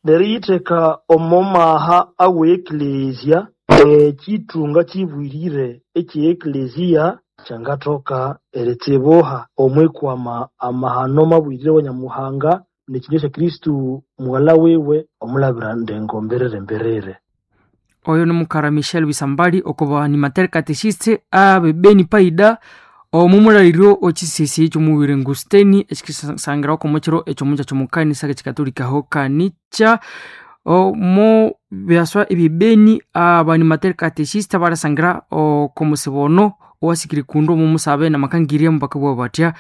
Neriyitheka omo maha awe eklezia, ekithunga kibwirire ekye eklezia kyangathoka eritsibuha omwikwama amahano mabwirire wa Nyamuhanga nekinywa kya Kristo mughalha wiwe omulabira ndengo mbirire mbirire. Oyo ni mukara Michel Bisambali oko animateur catechiste abe Beni Paida omumulaliryo ochisisi ky'omuwire Ngusteni ekikisangirawo omukiro ekyomuja ky'omukanisa k'ekikatolika ho kanicha omo byaswa ebyebeni abanimateur catechiste balasangira oko musibono owasikire kundu omumusabe namakangirya mubakabugha batya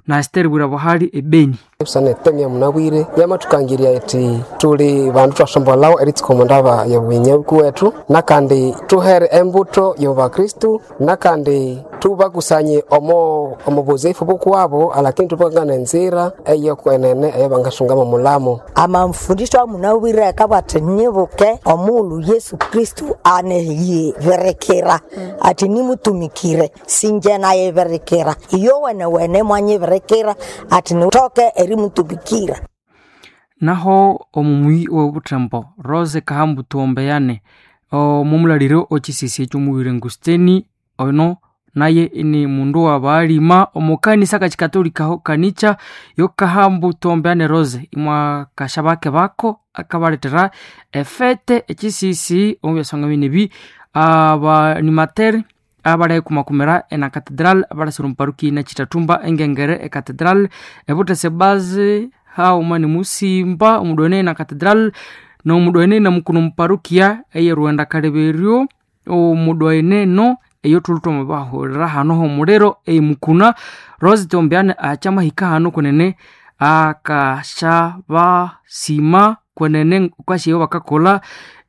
na Esther Bwira-Buhali ebeni. Busana etemya munabwire yamathukangirya iti tuli bandu twasombolhawo eritsuka omu ndaba y'obunyabuku wethu, nakandi tuhere embuto y'obakristu, nakandi tubakusanye omo omubuzifu bukuwabo, alakini tubakangana enzira eyokwenene eyabangasungamo omulamo. Amamfundisho amunabwire akabugha athi nyibuke omughulhu Yesu Kristu aneyibirikira athi nimutumikire, singye nayibirikira, iyo wenewene mwanyibirikira athi nithoke erimutumikira. Naho omumuyi w'obuthembo Rose Kahambu Tuombeyane omumulaliro ochisisi eky'omuwire Ngusteni ono naye ni mundu wa baalima omukanisa kakikatolika ho kanicha yo Kahambu Tuombeane Rose imwakasha bake bako akabaletera efete echisisi omu byasonga binebi abanimateri abalekumakumira ena catedral abalasira omuparuki nakitatumba engengere ecatedral ebutese bazi hauma ni musimba omudwene na catedral nomudwene namukuno muparukia eye Rwenda kaleberyo omudwene no eyo tulutoma bahurira hano homuliro eimukuna Rose Tombiane achamahika hano kunene akasha basima kwenene kwashiyo bakakola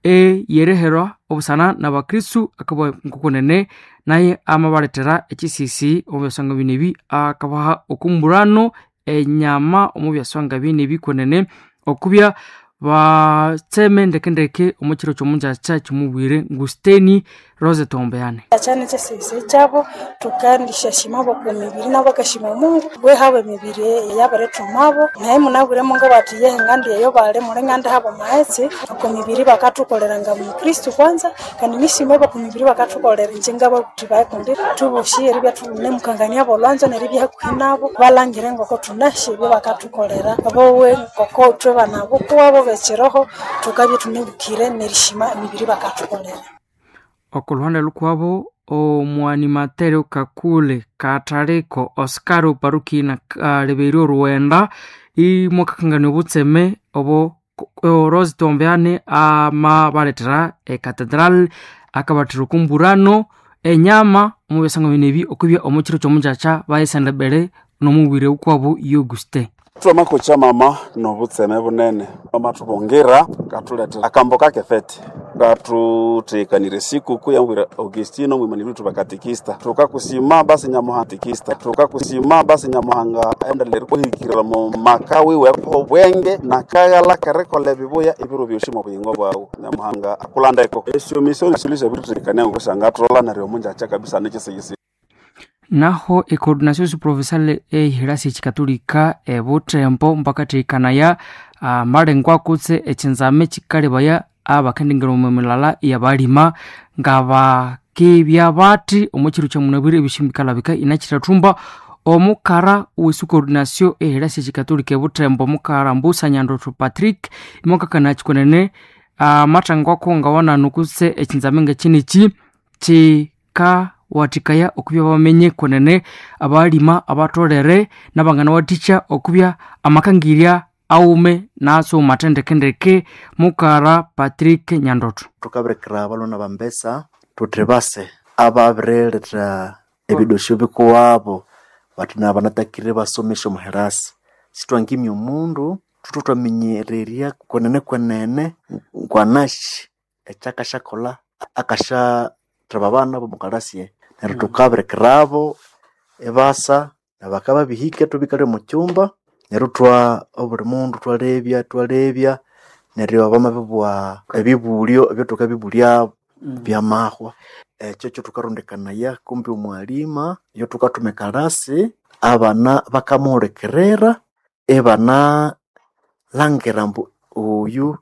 eyereherwa obusana nabakristu akabwa nkokunene naye amabaletera ekisisi omu byasonga binebi akabaha okumburano enyama omu byasonga binebi kwenene okubya batseme ndekendeke omu kiro ky'omunjakya kimubwire Ngusteni Rose Tombeane. Achane kyesese kyabo tukandishashima ku mibiri nabo bakashima Mungu bwe habo emibiri yabarethumabo naye munabwiremo ngabati yehe ngandi eyo bali muli ngandi habo maghetse ku mibiri bakathukolera nga mukristu kwanza kandi nishima ku mibiri bakathukolera inje ngababuthi bayi kundi thuboshi eribya thunemukangania bolwanzo neribya hakuhi nabo balangire ngoko thunashe ebyo bakathukolera bowe ngoko ithwe bana bukuwabo bekiroho thukabya thunebukire nerishima emibiri bakathukolera. Okuluhande lukwabo omwanimateri Kakule Katariko Oscar Oparuki na kaleberyo Rwenda imwakakangania obutseme obo Rose Tombeane amabaletera ecatedral akabathira okumburano enyama omu byasanga binebi okubya omu kiro ky'omunjakya bayisendebere n'omubwire ukwabo Auguste. Twamakocha mama nobutseme bunene amatubungira katuletera akambo kakefete katutekanire sikuku ya mwira Augustino mwimaniri tubakatikista tukakusima basi nyamuhanga tukakusima basi nyamuhanga endelere kuhikirira mu maka wiwe obwenge nakagala kerekola ebibuya ebiro byosi mu buyingo bwawu nyamuhanga akulandeko esyo misoni silisha bitutekania ngusanga tulola neryo omunjakya kabisa nekisigisi. Naho ecoordinação provincial ehirasi ekikatolika ebuthembo mpakathekanaya amalengwa kutse ekinzame kikalebaya abakendengera omu milala yabalima ngabakebya bathi omu kiro kyamunabwire ebishimbi bikalabika inakithathumba omukara owesi coordination ehirasi ekikatolika ebuthembo omukara Mbusa Nyandotho Patrick imwakakana kikwenene amathangwako ngawananu kutse ekinzame ngakiniki kika wathikaya okubya bamenye kwenene abalima abatolere nabangana wathikya okubya amakangirya awume naso mathendekendeke mukara Patrick Nyandoto. Thukabirikira abalwana bambesa thuthi base ababirilethera ebidosyo bikuwabo bathi nabanatakire basomesya omuherasi sithwangimya omundu thuthe thwaminyererya kwenene kwenene ngwanashi ekyakasyakolha akasya thaba abana bomukarasi neryo thukabirikirabo ebasa nabakababihika thubikale omukyumba neryo thwa obuli mundu thwalebya thwalebya neryo bamabibugha ebibulyo ebyathukabibulyabo byamahwa ekyo kyothukarondekanaya kumbi omwalima iyo thukathuma ekalasi abana bakamuhulikirira ibana langira ambu oyu